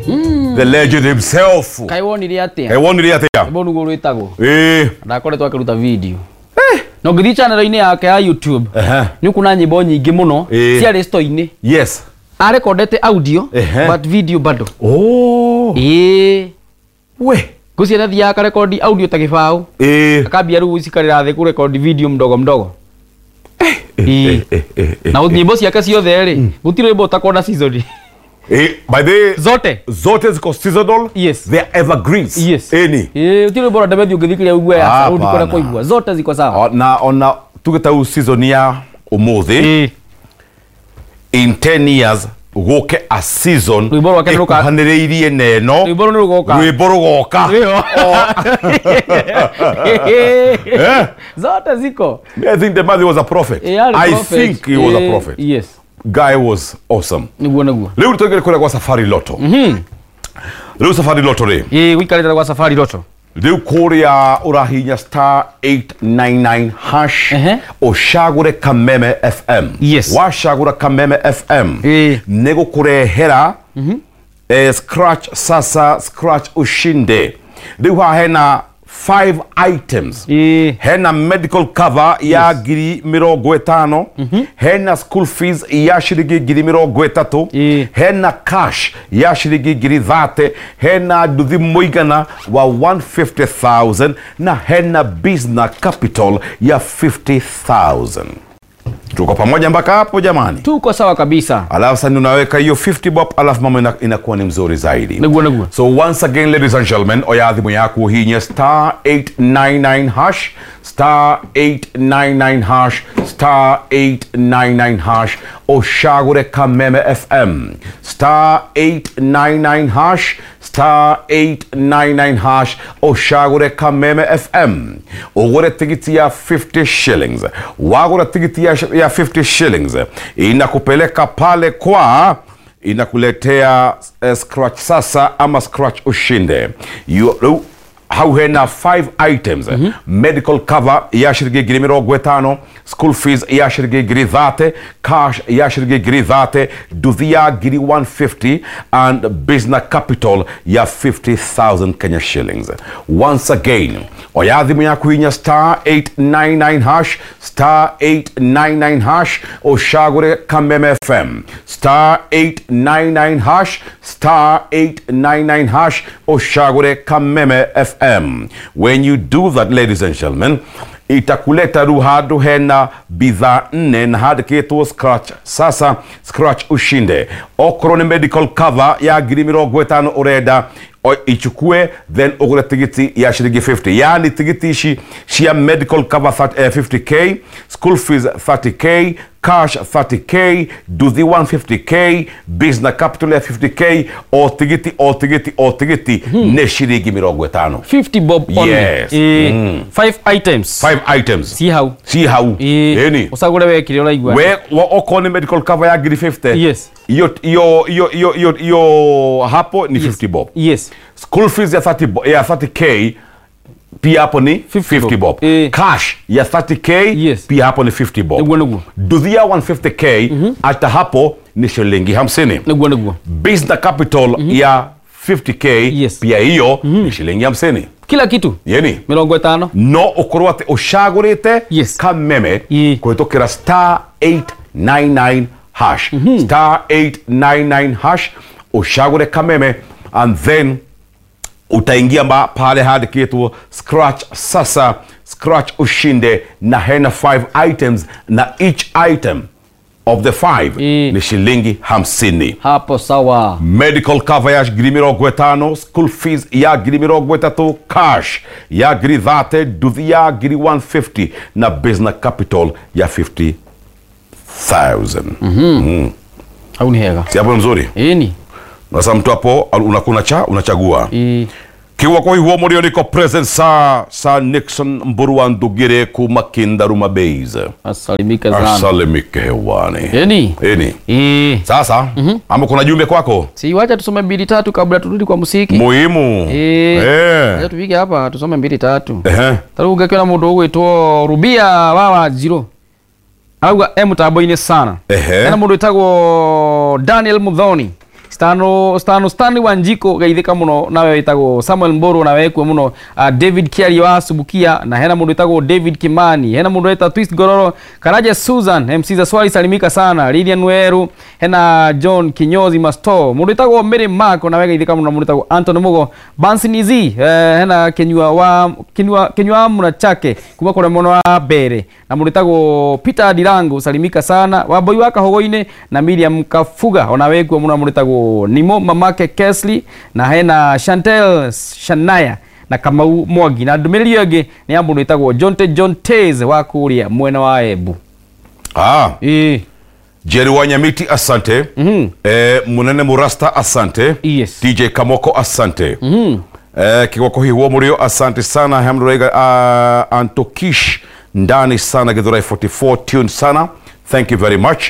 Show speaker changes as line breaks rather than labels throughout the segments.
The legend himself.
Kaĩ wonire atĩa?
Kaĩ wonire atĩa?
Rwĩmbo nĩguo rwĩtagwo.
Ĩĩ.
Ndakoretwo akĩruta video. Na ũngĩthiĩ channel-inĩ yake ya YouTube, nĩ ũkuona nyĩmbo nyingĩ mũno ciarĩ store-inĩ.
Yes.
Arekondete audio but video bado.
Oh.
Ĩĩ.
We.
Ngũciria athiaga akarekondi audio ta gĩbaũ. Akambia rĩu gũcikarĩra thĩ kũrekondi video mdogo mdogo. Na nyĩmbo ciake ciothe rĩ, gũtirĩ rwĩmbo ũtakorwo na season.
By the
zote
zote ziko seasonal.
Yes.
They are evergreens.
Yes.
Any.
Gũtirĩ rwĩmbo rwa Demethiũ ũngĩthikĩrĩria ũigue ya
Hapana.
rũu ndikũrĩa kũigua. Zote ziko sawa.
Na ona tuge ta rĩu season ya ũmũthĩ. In 10 years gũke a season
Rwĩmbo rwake nĩ rũka-
ĩkuhanĩrĩirie na ĩno.
Rwĩmbo rũu nĩ rũgoka.
Rwĩmbo rũgoka.
Rwĩho. Zote ziko.
I think Demethiũ was a prophet.
Arĩ
I
prophet.
think he was a prophet.
Yes.
Guy was awesome.
Nĩguo nĩguo.
Rĩu tũingĩre kũrĩa gwa Safari Lotto. Rĩu Safari Lotto rĩ.
Gũikarĩte gwa Safari Lotto.
Rĩu kũrĩa ũrahinya star 899 hash ũcagũre Kameme FM.
Yes.
Wacagũra Kameme FM nĩ gũkũrehera scratch sasa scratch ushinde. Rĩu haha hena 5 items. Hena medical cover ya ngiri mĩrongo ĩtano. Hena school fees ya ciringi ngiri mĩrongo ĩtatũ. Hena cash ya ciringi ngiri 30. Hena nduthi mũigana wa 150,000 na hena business capital ya 50,000. Tuko pamoja mpaka hapo jamani?
Tuko sawa kabisa.
Alafu sasa unaweka hiyo 50 bob, alafu mambo inakuwa ni mzuri zaidi.
Niguo niguo.
So once again ladies and gentlemen, oya thimu yaku hinya star 899 hash, star 899 hash, star 899 hash, ũcagũre Kameme FM. Star 899 hash, star 899 hash, ũcagũre Kameme FM. Ũgũre tigiti ya 50 shillings. Wagũra tigiti ya 50 shillings inakupeleka pale kwa inakuletea scratch sasa ama scratch ushinde. Hau hena 5 items. Medical cover ya shiringi ngiri mĩrongo ĩtano, school fees ya shiringi ngiri 30, cash ya shiringi ngiri 30, nduthi ya ngiri 150 and business capital ya 50,000 Kenya shillings. Once again, oya thimu yaku hinya star 899 hash, star 899 hash, ũcagũre Kameme FM. Star 899 hash, star 899 hash, ũcagũre Kameme FM. When you do that, ladies and gentlemen, itakuleta ru handu hena bidhaa 4 na handĩkĩtwo scratch sasa scratch ushinde. Okorwo nĩ medical cover ya ngiri mĩrongo ĩtano ũrenda ichukue, then ũgũre tigiti ya shiringi 50. Yani tigiti ici cia medical cover 50k, school fees 30k, cash 30k, nduthi 150k, business capital ya 50k, o tigiti o tigiti o tigiti nĩ shiringi mĩrongo ĩtano.
50 bob only.
Yes.
5 items.
5 items.
Si hau.
Si hau. Ĩni.
Ũcagũre we kĩrĩa ũraigua.
We okorwo nĩ medical cover ya ngiri 50.
Yes.
Iyo iyo iyo iyo iyo iyo hapo ni 50 bob.
Yes.
School fees ya 30 ya 30k pia hapo ni 50 bob. Cash ya 30k
Yes.
pia hapo ni 50 bob.
Niguo niguo.
Nduthi ya 150k hata hapo ni shilingi 50.
Niguo niguo.
Business capital ya 50k
Yes.
pia hiyo ni shilingi 50.
Kila kitu.
Yeni.
Mĩrongo ĩtano.
No ũkorwo atĩ ũcagũrĩte
Yes.
Kameme kũhĩtũkĩra star 899 hash. Star 899 hash ũcagũre Kameme and then utaingia pale handĩkĩtwo scratch sasa scratch ushinde na hena 5 items na each item of the 5 ni shilingi 50.
Hapo sawa.
Medical cover ya ngiri mĩrongo ĩtano, school fees ya ngiri mĩrongo ĩtatũ, cash ya ngiri 30, nduthi ya ngiri 150 na business capital ya 50,000.
Hau ni hega.
Si hapo mzuri?
Ĩni.
Sasa mtu hapo unakuna cha unachagua. Kiwa kwa hiyo morio niko present sa Nixon Mburwa Ndugire kuma Kindaruma Base.
Asalimike sana.
Asalimike hewani.
Eni.
Eni. Sasa ama kuna jumbe kwako?
Si wacha tusome 2 3 kabla turudi kwa muziki.
Muhimu.
Wacha tupige hapa tusome 2 3. Taruga ngakĩona mũndũ ũgwĩtwo Rubia wa Wanjirũ. Arauga e mũtambo-inĩ sana. Hena mũndũ wĩtagwo Daniel Muthoni. Stano Stanley Wanjiko geithika muno nawe witagwo Samuel Mboro na wekwe muno David Kiari wa Subukia na hena mundu witagwo David Kimani hena mundu wita Twist Gororo Karaja Susan MC za Swali salimika sana Lilian Weru hena John Kinyozi Masto mundu witagwo Mary Mark na we geithika muno mundu witagwo Anton Mugo Bansi Nizi hena Kinyua Murachake kuma kure muno wa mbere na mundu witagwo Peter Dirango salimika sana Wamboi wa Kahogoine na Miriam Kafuga ona wekwe muno mundu witagwo Nimo mamake Kesley na hena Chantel Shanaya na Kamau Mwangi na ndumiriri ĩngĩ nĩ ya mũndũ wĩtagwo Jonte Jontez wa kũrĩa mwena wa Embu.
Jerry Wanyamiti asante. Munene Murasta asante.
Yes.
DJ Kamoko asante. Kigwako Hiwo Murio asante sana. Hamrega Antokish ndani sana Githurai 44 tune sana. Thank you very much.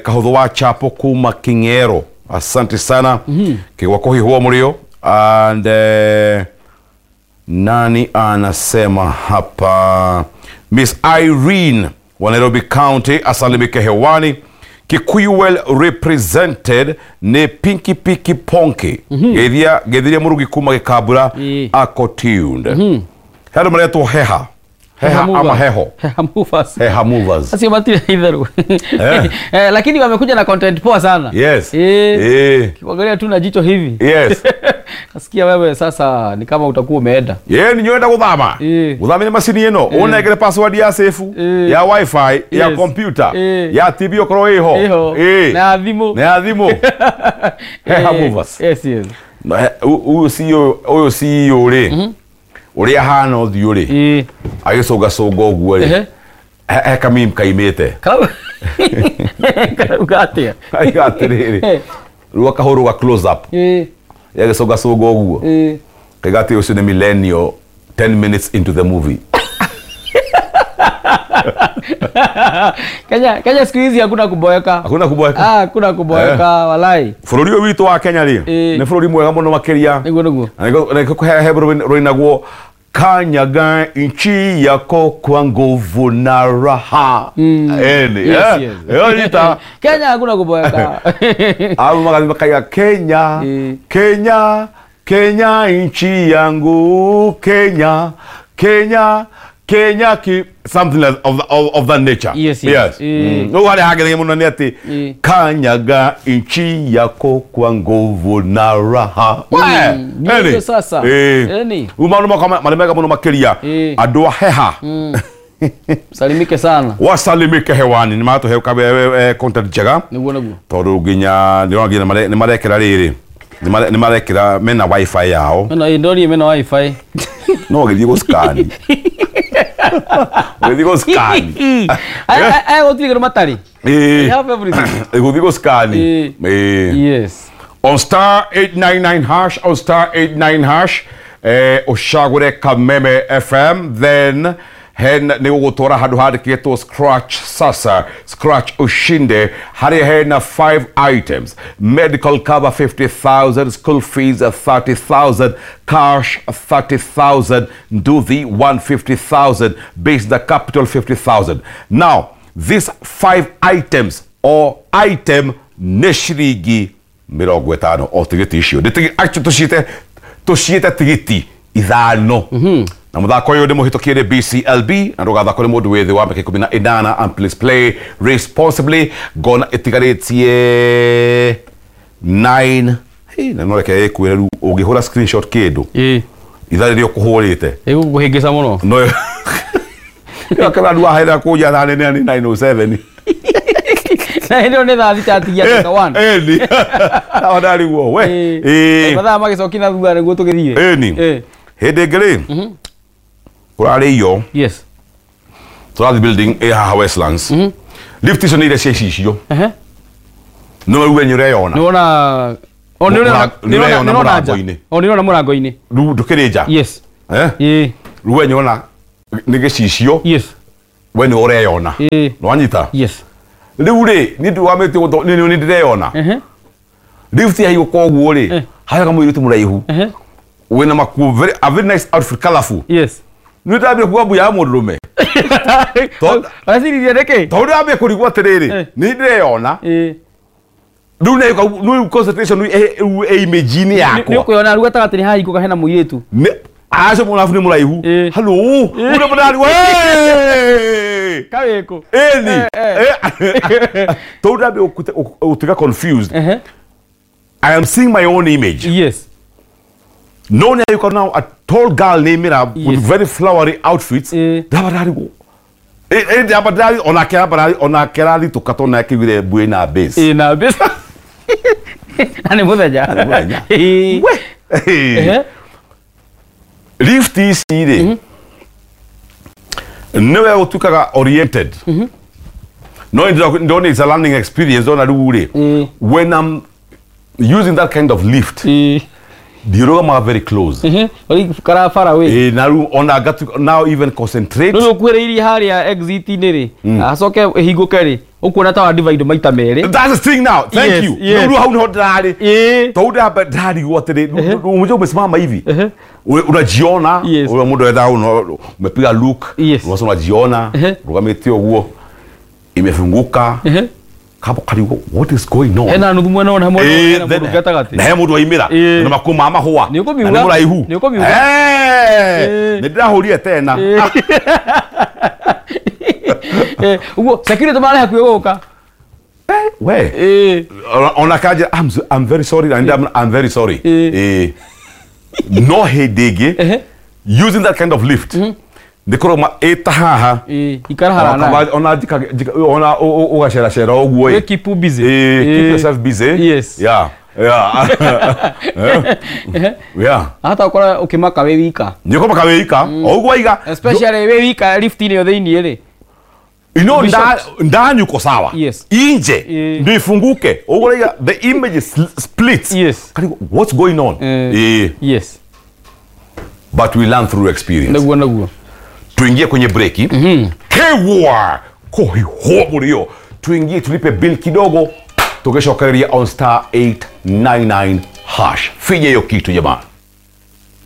Kahuthu wa Chapo kuma Kingero asante sana. Kigwako Hiwo Murio and nani anasema hapa Miss Irene wa Nairobi County asalimike hewani. Kikuyu well represented ne Pinky Piki Ponky. Geithia murugi kuma Gikabura ako tuned. Hado maretwo heha. Heha ama heho.
Heha movers.
Heha movers.
Sasa matire itharu. Lakini wamekuja na content poa sana.
Yes.
Kiangalia tu na jicho hivi.
Yes.
Nasikia wewe sasa ni kama utakuwa umeenda.
Yeye ni nyoenda guthama. Guthama ni macini ino. Unengere password ya safe, ya wifi, ya computer, ya TV okorwo iho.
Na thimu.
Na thimu. Heha movers.
Yes, yes.
Uyu CEO ri. Uria hana ũthiũ rĩ agĩcũngacũnga ũguo rĩ he kameme kaimĩte
karauga atĩa
aiga atĩrĩrĩ rĩu akahũrwo ga close up agĩcũngacũnga ũguo kaiga atĩ ũcio nĩ millennial 10 minutes into the movie.
Kenya siku hizi hakuna kuboeka.
Hakuna kuboeka.
Hakuna kuboeka walai.
Bũrũri ũyũ witũ wa Kenya rĩ nĩ bũrũri mwega mũno makĩria.
Niguo niguo.
Na nĩkũhe rũinagwo kanyaga nchi yako kwa nguvu na raha. Eni.
Yes, yes.
Yonita.
Kenya hakuna kuboeka.
Au magathi makaiga Kenya. Kenya, Kenya nchi yangu, Kenya, Kenya. Kenya ki something like of that nature.
Yes, yes.
Yes. No wale hagere muno ni ati kanyaga nchi yako kwa nguvu na raha.
Ndio sasa. Eni.
Umano makama malemega muno makiria andu a heha.
Salimike sana.
Wasalimike hewani ni matu heuka content njega.
Niguo niguo.
Tondu nginya ndiro nginya ni marekera riri. Ni marekera mena wifi yao.
Mena ndori mena wifi.
No githie gũscan. Gũthiĩ gũscan.
Aya gũtirĩ kĩndũ matarĩ. They have everything.
Gũthiĩ gũscan.
Yes.
On star 899 hash, on star 89 hash, ũcagũre Kameme FM, then hen nĩ ũgũtwara handũ handĩkĩtwo scratch sasa, scratch ushinde, harĩa hena 5 items: medical cover 50,000, school fees 30,000, cash 30,000, nduthi 150,000, base the capital 50,000. Now these 5 items or item nĩ ciringi 50 o tigiti icio actually tũciĩte tigiti ithano. Na muthako uyu ni muhitukie ni BCLB na ndugathakwo ni mundu withi wa miaka 18 and please play responsibly. Ngona itigarĩtie 9 hey, na no reke ĩkwĩre rĩu ũngĩhũra screenshot kĩndũ ithaa rĩrĩa ũkũhũrĩte
ĩgũkũhĩngĩca mũno
no kana andũ ahaira kũnja thaa nene nĩ 9:07
na ĩno nĩ thaa thita atigia ndagĩka 1
ĩni nao ndariguo we
mathaa magĩcokia na thutha nĩguo tũgĩthiĩ
ĩni hĩndĩ ĩngĩ rĩ kũrarĩ
yes
tũrathiĩ building ĩ haha Westlands lift icio nĩ iria cia icicio no rĩu we nĩ ũreyona
nĩwona
nĩũreyona mũrango-inĩ
nĩũrona mũrango-inĩ
rĩu ndũkĩrĩ nja
yes
rĩu we nĩwona nĩ gĩcicio
yes
we nĩ ũreyona nĩwanyita
yes
rĩu rĩ niĩ ndiwamĩtie nĩ ndĩreyona lift yaigũka ũguo rĩ harĩa kamũirĩtu mũraihu wĩna makuo a very nice outfit colorful
yes
nĩ ndambire kuga mbu ya mũndũrũme
Ũreciria nĩkĩ
tondũ ndambire kũrigwo atĩrĩrĩ nĩ ndĩreyona Rĩu concentration ĩ image-inĩ yakwa.
Nĩ ũkwĩona rĩu gatagatĩ nĩ hahingũka hena mũirĩtu.
Acio mũrabu nĩ mũraihu. Hello. Ũrĩa mũrari we.
Kawĩkũ.
Ĩni. Tondũ ndambe ũtuĩka confused. I am seeing my own image.
Yes.
No, now you can now a tall girl named Mira with very flowery outfits. Ona tukatona kivile buena base.
Ina base. Ani muthenya.
We. Lift ici rĩ. Niwe utukaga oriented. No, don't it's a learning experience ona rĩu rĩ. When I'm using that kind of lift. Ndiũrũgamaga very close.
Kara far away.
Ona now even concentrate.
Rĩu ũkuhĩrĩirie harĩa exit-inĩ rĩ, acoke ĩhingũke rĩ, ũkuona ta wa divide maita merĩ.
That's the thing now. Thank you. Rĩu hau nĩho ndĩrarĩ. Tondũ ndamba ndarigwo atĩrĩ, unajua umesimama hivi. Unajiona, ule mũndũ etha umepiga look, unasema unajiona, rugamĩte ũguo, imefunguka. Kapo karigo, what is going on?
Hena nuthu mwena ona mwena mundu gatagati.
Na he mundu waimira na makuma mahua.
Ni ukumiuga.
Na muraihu.
Ni ukumiuga.
Ni ndirahurie tena.
Uguo security mara hakuhi guka.
We. Ona kaja I'm very sorry and I'm very sorry. No hĩndĩ using that kind of lift. Ndikorwo ĩta haha
ikara harana
ona ona ugacera ũguo
keep busy.
Keep yourself busy.
Yes.
Yeah. Yeah. Yeah.
Hata ukora ukimaka we wika.
Ni ukomaka we wika. O ũguo waiga.
Especially we wika lift-inĩ yo thĩinĩ rĩ.
You know ndani uko sawa.
Yes.
Inje ndio ifunguke. Ũguo waiga the image is split.
Yes.
What's going on?
Yes.
But we learn through experience.
Naguo naguo.
Tuingie kwenye breki. Kewa kohihoburio. Tuingie tulipe bill kidogo. Tukeshokeria on star 899 hash. Finye hiyo kitu jamani.